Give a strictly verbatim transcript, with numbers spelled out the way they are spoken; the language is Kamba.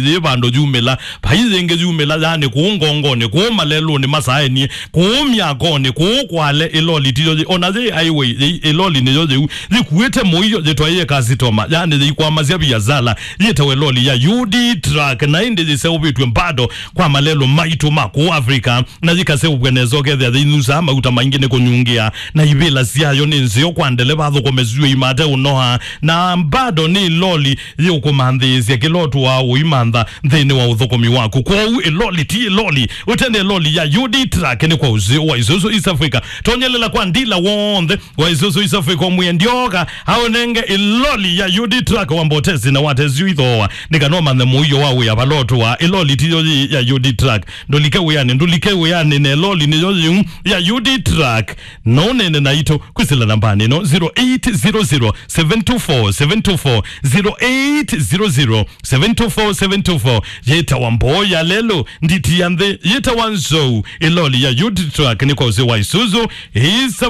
yĩ vandũ yumĩla, vai yĩngĩ yumĩla, yani kũu ngongonĩ, kũu malelũnĩ masaenie, kũu myakonĩ, kũu kwale, ĩloli tiyo yĩ, ona yĩ highway, yĩ, ĩloli nĩyo yĩu, yĩkuĩte mũio, yĩtwaĩe kasitoma, yani yĩikwamasya viasala, yĩtawe loli ya U D truck, na ĩndĩ yĩseũvĩtw'e mbado kwa malelũ maitũ ma kũu Africa, na yĩkaseũvw'a nesa ũkethĩa yĩinusaa mauta maingĩ nĩ kũnyungĩa, na ivĩla syayo nĩ nzeo kwa ndeleva athũkũme syũa imate ũnoa, na mbado nĩ loli yĩũkũmanthĩĩsya kĩla ũtũaa ũimantha nthĩnĩ wa ũthũkũmi waku. Kwoou ĩloli ti ĩloli, ũtene ĩloli ya U D truck nĩ kwa ũseo wa Isuzu East Africa. Tonyelela kwa ndila w'onthe wa Isuzu East Africa, ũmwĩe ndyoka aũnenge ĩloli ya U D truck wa mbotesi na watesyu ithooa, nĩ kana ũmanthe mũio wa wĩa vala ũtũaa. Ĩloli tiyo yĩ ya U D truck. Ndũlike wĩanĩ, ndũlike wĩanĩ na ĩloli nĩyo yĩu ya U D truck. No ũneene naitũ kwĩsĩla nambanĩ ĩno, zero eight zero zero, seven two four, seven two four, zero eight zero zero, seven two four, seven two four. Yĩtawa mboo ya lelũ, nditi ya nthĩ, yĩtawa nzou, ĩloli ya U D truck nĩ kwa ũsĩ wa Isuzu, East